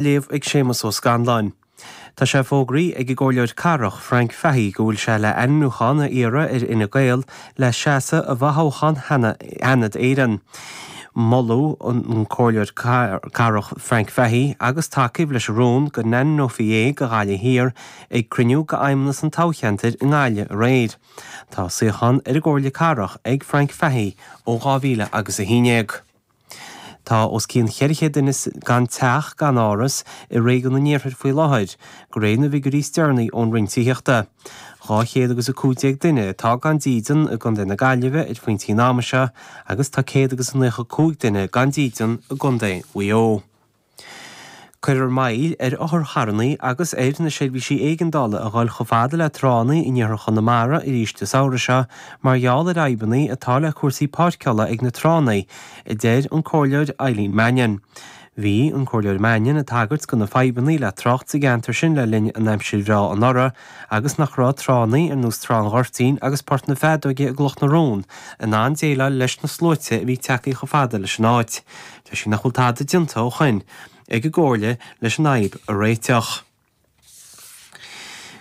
Léamh ag Séamus Ó Scanláin. Tá sé fógraithe ag an gComhairleoir Cathrach, Frank Fahey go bhfuil sé le ainmniúchán a iarraidh ar Fhine Gael le seasamh i bhfothoghchán Sheanad Éireann. Moladh an Comhairleoir Cathrach Frank Fahey agus tacaíodh leis an rún go n-ainmneofaí é do Ghaillimh Thiar ag cruinniú d'Fheidhmeannas an toghcheantair i nGaillimh aréir. Tá suíochán ar an gComhairle Cathrach ag Frank Fahey ó 2000 agus 11. Tá os cionn 400 duine gan teach gan áras i réigiún an Iarthair faoi láthair, de réir na bhfigiúirí is deireanaí ón Roinn Tithíochta. 200 agus 15 duine atá gan dídean i gContae na Gaillimhe ar phointí an ama seo agus tá 195 duine gan dídean i gContae Mhaigh Eo. Cuirfear moill ar otharcharranna agus ar na seirbhísí éigeandála a dhul chomh fada le tránna in iarthar Chonamara arís an samhradh seo mar gheall ar fhadhbanna atá le cúrsaí páirceála ag na tránna, a deir an Comhairleoir Eileen Mannion. Bhí an Comhairleoir Mannion ag tagairt do na fadhbanna le trácht sa gceantar sin le linn an aimsir bhreá anuraidh agus nach raibh tránna ar nós Trá an Ghoirtín agus Port na Feadóige i gCloch na Rón in ann déileáil leis na sluaite a bhí tagtha chomh fada leis an áit. Deir sí nach bhfuil tada déanta ó shoin ag an gComhairle leis an fhadhb a réiteach.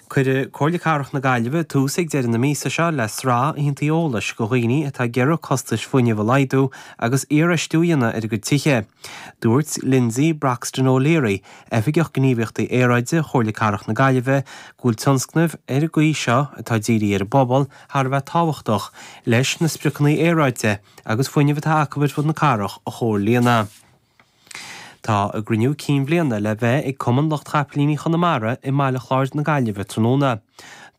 Cuirfidh Comhairle Cathrach na Gaillimhe tús ag deireadh na míosa seo le sraith oícheanta eolais do dhaoine atá ag iarraidh costais fuinnimh a laghdú agus iarfheistiú a dhéanamh ar a gcuid tithe. Dúirt Lindsay Broxton O'Leary, Oifigeach Gníomhaíochtaí Aeráide Chomhairle Cathrach na Gaillimhe, go bhfuil tionscnaimh ar an gcaoi seo atá dírithe ar an bpobal thar a bheith tábhachtach leis na spriocanna aeráide agus fuinnimh atá acu ar fud na cathrach a chomhlíonadh. Tá a gcruinniú cinn bhliana le bheith ag Cumann Lucht Chapaillíní Chonamara i mBaile Chláir na Gaillimhe tráthnóna.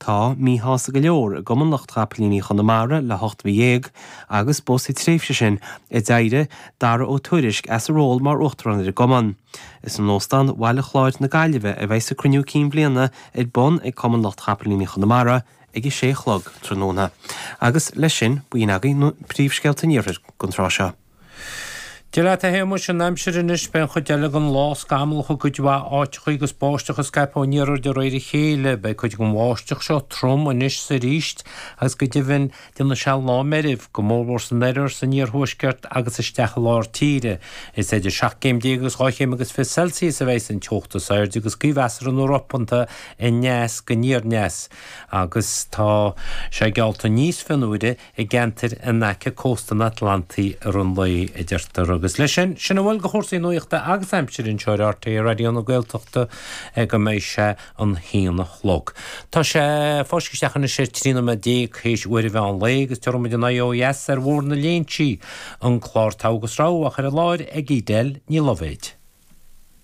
Tá míshásta go leor i gCumann Lucht Chapaillíní Chonamara le hocht mhí dhéag agus ba sa tréimhse sin a d'éirigh Dara Ó Tuairisg as a ról mar Uachtarán ar an gCumann. Is in Óstán Bhaile Chláir na Gaillimhe a bheidh a gcruinniú cinn bhliana ar bun ag Cumann Lucht Chapaillíní Chonamara ag a sé a chlog tráthnóna. Agus leis sin, b'in agaibh na príomhscéalta an iarthair don tráth seo. Dia leat a Shéamuis, an aimsir anois, beidh an chuid eile den lá scamallach i gcuid mhaith áiteachaí agus báisteach ag scaipeadh ón iarthar de réir a chéile. Beidh cuid den bháisteach seo trom anois 's arís agus go deimhin déanfaidh sé lá meirbh, go mórmhór san oirthear, san iarthuaisceart agus isteach i lár tíre. Is idir 17 céim agus 2 chéim agus 20 Celsius a bheidh an teocht is airde agus gaoth mheasartha nó ropanta aneas go aniar aneas. agus tá sé geallta níos fionnuaire i gceantair in aice cósta an Atlantaigh i rith an lae, a deirtear. Agus leis sin, sin a bhfuil de chúrsaí nuachta agus aimsire anseo ar RTÉ Raidió na Gaeltachta go mbeidh sé an haon a chlog. Tá sé fáiscthe isteach anois ar 13 nóiméad théis uair an mheán lae agus tabharfaidh muid an aghaidh ó dheas ar Bhóthar na Léinsí, an clár Togha agus Rogha á chur i láthair ag Edel Ní Loibhéid.